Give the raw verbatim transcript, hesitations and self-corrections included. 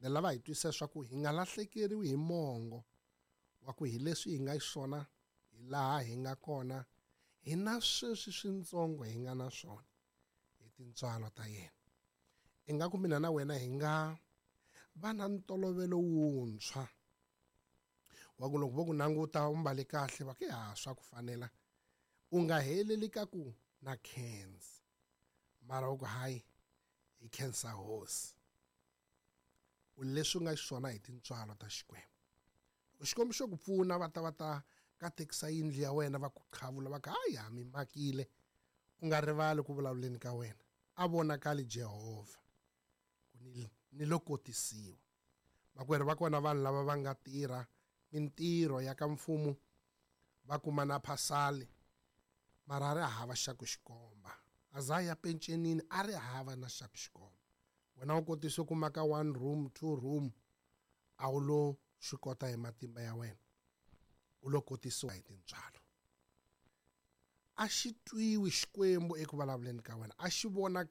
Ni lava hi twisisa swa ku hi nga lahlekeriwi hi mongo wa ku hi leswi hi nga xiswona hi laha hi nga kona hi na sweswi switsongo hi nga na swona hi tintswalo ta yena. Ingaku mina na wena hi nga va na ntolovelo wuntshwa wa ku loko vo ku languta u mbale kahle va ku ya swa ku fanela, u nga heleli ka ku na khensa, mara u ku hayi hi khensa hosi. U leswi u nga xiswona hi tintswalo ta Xikwembu. Loko Xikwembu xo ku pfuna va ta va ta katekisa yindlu ya wena va ku qhavula va ku hayi ha mi makile, u nga rivali ku vulavuleni ka wena a vonakali Jehovha ku ni ni lo kotisiwa. Makwerhu va kona vanhu lava va nga tirha mintirho ya ka mfumo va kuma na phasali mara a ri hava xa ku xikomba, a za ya pencenini a ri hava na xa ku xikomba. Wena u kotise ku maka one room two room, a wu lo swi kota hi matimba ya wena, u lo kotisiwa hi tintswalo. A xi twiwi Xikwembu eku vulavuleni ka wena, a xi vonaka.